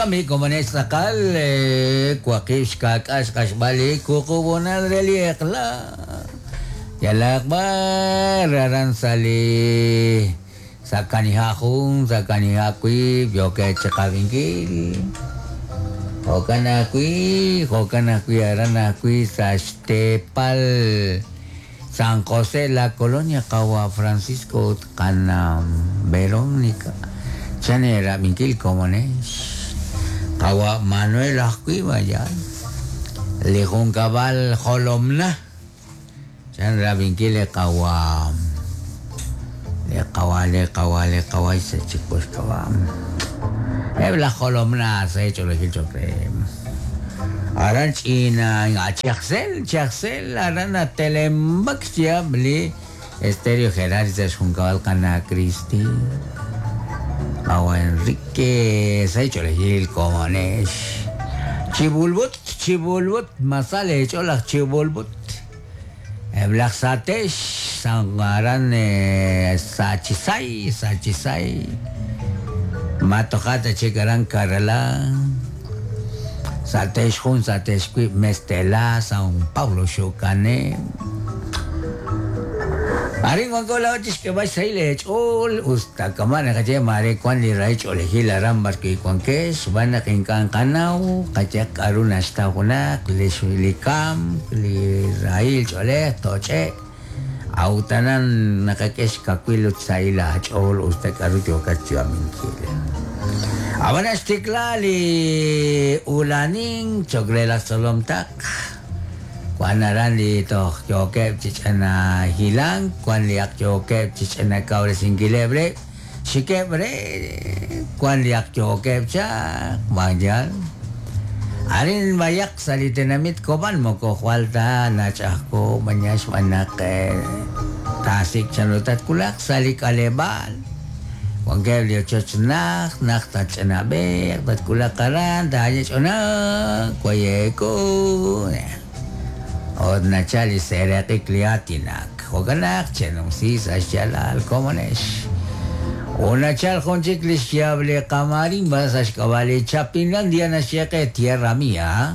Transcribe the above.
Jo'kan b'i' komonex tz'aqal waqib' xka'k'aal xq'axb'al li wuqub' honal re li eq'la. Yalaq b'ar aran sa' li sa' kaniha' jun, sa' kaniha' wiib' yookeb' chiqab'inkil. Jo'kan ajwi', jo'kan ajwi' aran ajwi' sa' xteepal San José La Colonia qawa' Francisco ut qana' Verónica. Chan eerab'inkil komonex. Qawa' Manuel ajwi' b'ayal. Li junkab'al Jolomna. Chan rab'inkil li qawa' li qawa' li qawa' li qawa' sa' chik po xk'ab'a'. Eb' laj Jolomna sa' ch'oolejil cho'q re. Aran ch'ina Chajsel, Chajsel aran natelemb'ak xyaab' li Estéreo Gerardi sa' xjunkab'al qana' Cristi. Qawa' Enrique sa' ch'oolejil komonex. Chibulbut, chibulbut, masal eech'ool laj chibulbut. Eb' laj Satex, San aran Sachisay, Sachisay. Ma toja' ta chik aran Karala. Satex jun, Satex wiib', Mestela, San Pablo Xukane. Arin wanko laa'o chi xk'eeb'al xsahil eech'ool, us ta kama' naqaye maare wank li rahil ch'oolejil aran b'arwi' wankex, xb'aan naq ink'a' nqanaw qayehaq k'aru naxtaw junaq, li kamk, li rahil ch'oolej, toch'e'k. A'ut aran naqak'e xkawil ut xsahil aach'ool us ta k'aru yookat xyu'aminkil. Ab'anan xtikla li ula'anink cho'q re laj tzolom taq. Wan aran li toj yookeb' chi ch'ina hilank, wan li ak yookeb' chi ch'ina kawresinkileb' rib', xikeb' re, wan li ak yookeb' chaq, ma yaal? Arin b'ayaq sa' li tenamit Cobán moko jwal ta nach'ajko maña xb'aan naq taasik' chanru tatwulaq sa' li k'aleb'aal. Wankeb' li ochoch najt, najt tatch'anab'e'q, tatwulaq aran, taaye ch'onak, waye'ku. Ut nachal li seeraq'ik li aatinak. Jo'kan naq chenumsi sa' xyaalal komonex. Ut nachal jun chik li xyaab' li qamarimba sa' xk'ab'a' li Chapinlandia naxye qe Tierra Mía.